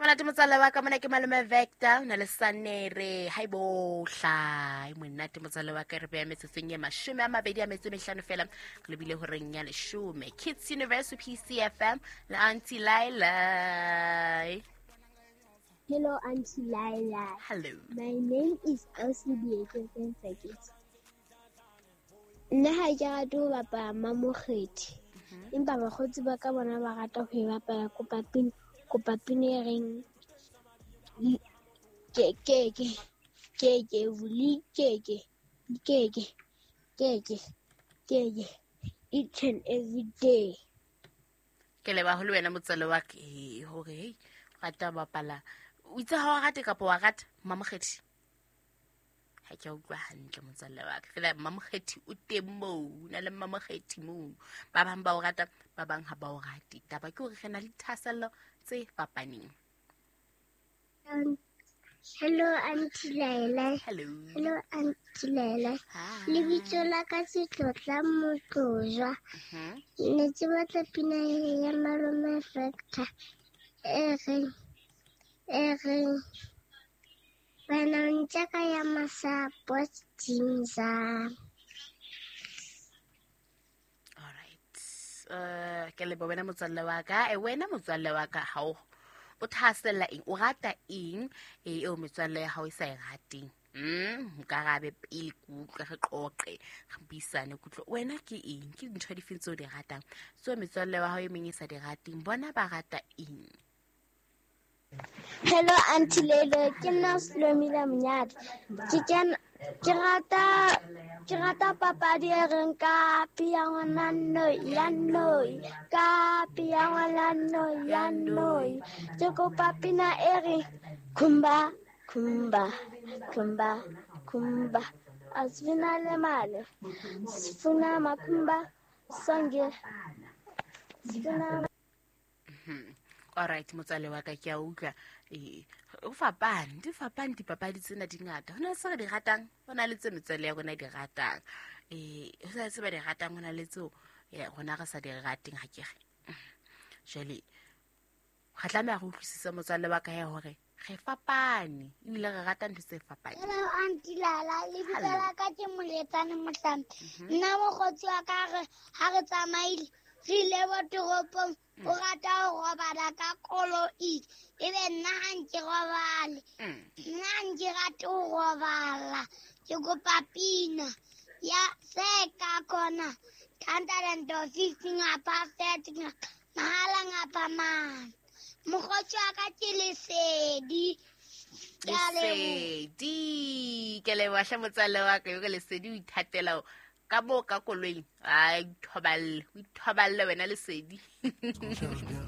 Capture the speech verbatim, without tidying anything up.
Monate motswalle wa ka mona ke malome Vector o na le Sanere. Hai bohla, e monate motswalle wa ka, re beya metsotsong e mashome a mabedi a metso e mehlano fela re lebile horeng ya leshome. Kids Universe P C F M le Auntie Laila. Hello Auntie Laila. Hello. My name is Elsie Bieke. Nna ha ke rate ho bapala mamokgethi, empa bakgotsi ba ka bona ba rata ho e bapala. Kopa pina, kopa pina e reng ke ke ke ke ke vuli ke ke ke ke ke ke ke ke each and every day. Ke leba ho le wena motswalle wa ka hore hey rata bapala. O itse ha o rate kapa wa rata mamokgethi? Ha ke utlwa hantle motswalle wa ka. Fela mamokgethi o teng moo, o na le mamokgethi moo. Ba bang ba o rata, ba bang ha ba o rate. Taba ke hore re na le dithahasello tse fapaneng. Um, hello Auntie Laila. Hello. Hello Auntie Laila. Lebitso la ka ke Tlotla Motlojwa. Ne ke batla pina ya Malome Vector e reng e reng wena ntjaka ya masapo tsinza. All right. Uh, ke leboha wena motswalle wa ka. E wena motswalle wa ka ha o o thahasella eng? O rata eng e eo metswalle ya hao e sa e rateng? Mm, nkarabe pele ke utlwe, re qoqe, re buisane ke utlwe. Wena ke eng? Ke dintho dife tseo di ratang? Tseo metswalle wa hao e meng e sa di rateng, bona ba rata eng? Hello Auntie Lelo, ke nna Slomile Monyadi. Ke kena ke rata ke rata papadi e reng ka pia ngwana noi ya noi, ka pia ngwana noi ya noi. Ke kopa pina e reng khumba khumba khumba khumba. Asifuna le mali, sifuna makhumba sonke, sifuna. All right, motswalle wa ka ke a utlwa. Eh, o fapane, di fapane dipapadi tsena di ngata. Ho na le tse re di ratang, ho na le tse metswalle ya rona di ratang. Eh, ho na le tse ba di ratang, ho na le tseo rona re sa di rateng ha ke re. Jwale re tlameha re utlwisise motswalle wa ka ya hore re fapane ebile re rata ntho tse fapaneng. Hello Auntie Lala, lebitso la ka ke Moletsane Mohlambi. Nna mokgotsi wa ka re ha re tsamaile re ile bo toropong, o rata ho robala ka koloi, ebe nna ha nke robale. Nna ha nke rate ho robala. Ke kopa pina ya se ka khona hundred and fifty ngapha thirty mahala ngapha mane. Mokgotsi wa ka ke Lesedi. Lesedi, ke leboha hle motswalle wa ka, yo ke Lesedi o ithatela ka moo ka koloing. Ai, ithoballe, o ithoballe wena Lesedi.